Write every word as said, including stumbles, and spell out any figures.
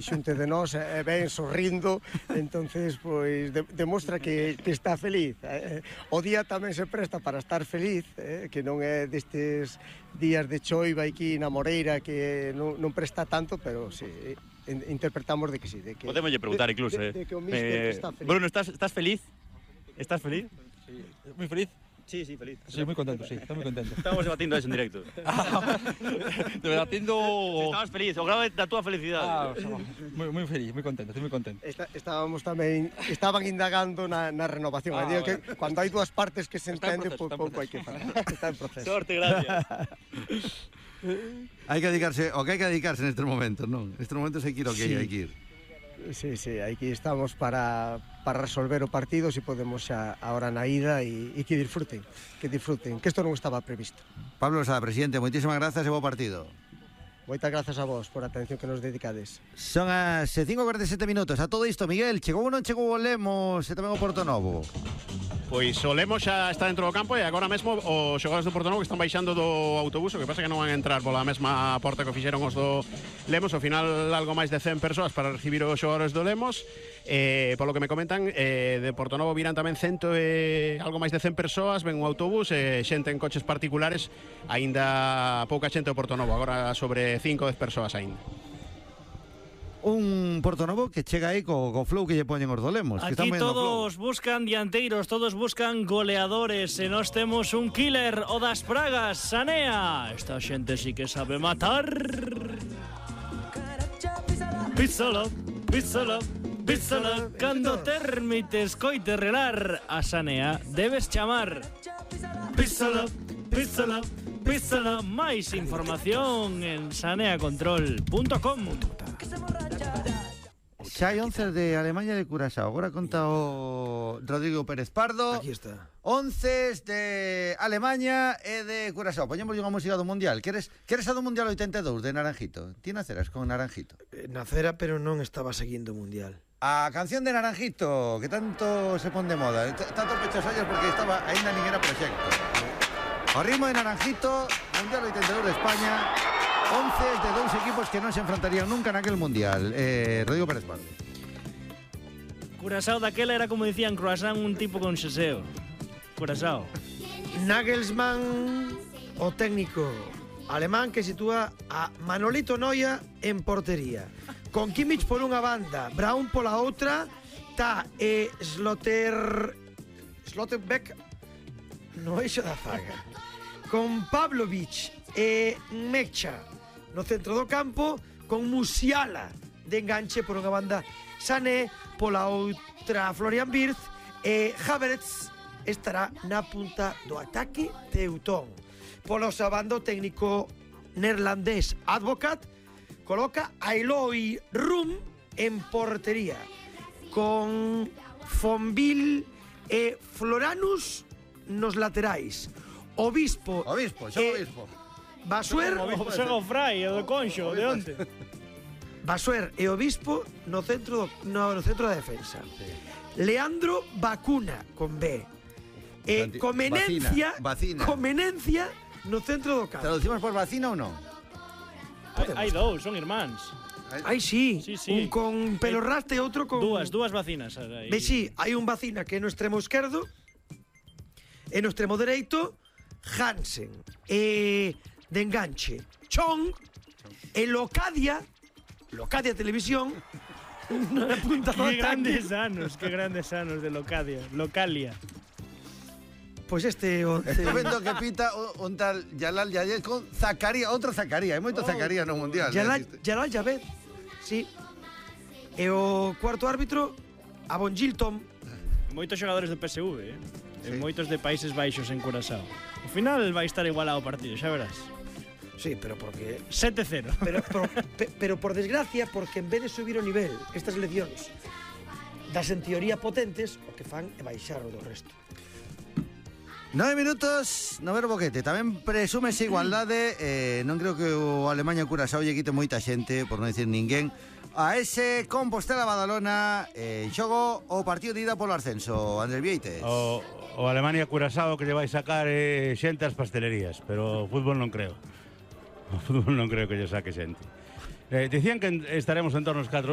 xunte de nós e ben sorrindo, entonces pois de, demostra que, que está feliz. Eh, o día tamén se presta para estar feliz, eh, que non é destes días de choiva aquí na Moreira que non, non presta tanto, pero sí, interpretamos de que sí, de que podemos lle preguntar incluso, de, eh. de, de que o míster eh, está feliz. Bruno, estás estás feliz? Estás feliz? Sí. Muy feliz. Sí, sí, feliz. Sí, muy contento, sí, estoy muy contento. Estamos debatindo eso en directo. Debatindo... Si estabas feliz, o grado da túa felicidade. Ah, muy, muy feliz, muy contento, estoy muy contento. Está, estábamos tamén, estaban indagando na, na renovación. Ah, digo vale. que cando hai dúas partes que se entende, proceso, pouco hai que falar. Está en proceso. Sorte, gracias. Hai que dedicarse, o que hai que dedicarse nestes momentos, non? Nestes momentos hai que ir o que Sí. hai que ir. Sí, sí, aquí estamos para, para resolver o partido, si podemos xa ahora na ida e, e que disfruten, que disfruten, que isto non estaba previsto. Pablo Sada, presidente, moitísimas grazas e bo partido. Moitas grazas a vos por a atención que nos dedicades. Son as cinco e cuarenta e sete minutos. A todo isto, Miguel, chegou ou non chegou o Lemos e tamén o Portonovo? Pois o Lemos xa está dentro do campo e agora mesmo os xogadores do Portonovo que están baixando do autobús, o que pasa que non van a entrar pola mesma porta que fixeron os do Lemos, ao final algo máis de cen persoas para recibir os xogadores do Lemos. Eh, polo que me comentan, eh, de Portonovo virán tamén cento e algo máis de cen persoas, ven un autobús e xente en coches particulares, aínda pouca xente do Portonovo, agora sobre cinco ou dez persoas aínda. Un Portonovo que chega aí co, co flow que lle poñen os do Lemos. Que Aquí están todos buscan dianteiros, todos buscan goleadores. E nós temos un killer, o das pragas, Sanea. Esta xente sí que sabe matar. Písalo, písalo, písalo. Cando termites coite relar a Sanea, debes chamar. Písalo, písalo, písalo. Máis información en saneacontrol punto com. Xa hai once de Alemanha de Curaçao. Agora conta o Rodrigo Pérez Pardo. Aquí está. Once de Alemanha e de Curaçao. Poñemos unha música do Mundial. Queres, queres a do Mundial oitenta e dous de Naranjito? Ti naceras con Naranjito? Eh, nacera, pero non estaba seguindo o Mundial. A canción de Naranjito, que tanto se pon de moda. T- Tanto pechos ollos porque estaba aínda nin era proxecto. O ritmo de Naranjito, Mundial oitenta e dous de España. once de dous equipos que non se enfrontarían nunca naquel Mundial. Eh, Rodrigo Pérez Pardo. Curaçao daquela era como dicían croissant, un tipo con xeseo. Curaçao. Nagelsmann, o técnico alemán que sitúa a Manolito Noia en portería. Con Kimmich por unha banda, Braun pola outra, tá e Slotter... Slotterbeck no eixo da zaga. Con Pavlovic e Mecha no centro do campo, con Musiala de enganche por unha banda, Sané pola outra, Florian Wirtz e Havertz estará na punta do ataque teutón. Polo sabando técnico neerlandés Advocat coloca a Eloy Rum en portería con Fonville e Floranus nos laterais. Obispo Obispo, xa e Obispo. Basuer Xoga o Frai, o de Conxo, de onte. Basuer e Obispo no centro do, no, no centro da defensa. Leandro Bacuna con B. E Santi- Comenencia, Vacina, vacina. Comenencia no centro do campo. Traducimos por vacina ou non? Hai, hai dous, son irmáns. Ai, sí, Sí, sí. un con pelo raste e outro con... Dúas, dúas vacinas. Aí. Ve, sí, hai un vacina que é no extremo esquerdo e no extremo dereito Hansen e de enganche Chong e Locadia Locadia Televisión na punta do Que ataque. grandes anos, que grandes anos de Locadia. Localia. Pois este once... Estou vendo que pita o- un tal Jalal Yayed con Zacarías, outro Zacarías, hai moito Zacarías no Mundial. Jalal, eh, Jalal Javed, sí. E o cuarto árbitro Avon Gilton. Moitos xogadores do P S V, eh? Sí. E moitos de Países Baixos en Curaçao. Ao final vai estar igualado o partido, xa verás. Sí, pero porque... sete cero. Pero, pero, pe- pero por desgracia, porque en vez de subir o nivel estas eleccións das en teoría potentes, o que fan é baixar o do resto. Nove minutos, no ver boquete. Tamén presúmese igualdade. eh, Non creo que o Alemanha Curaçao lle quite moita xente, por non dicir ninguén, a ese Compostela Badalona. En xogo o partido de ida polo ascenso. Andrés Vieites. O, o Alemania Curaçao que lle vai sacar eh, xente ás pastelerías, pero o fútbol non creo. O fútbol non creo que lle saque xente. Eh, decían que en- estaremos en torno aos catro mil.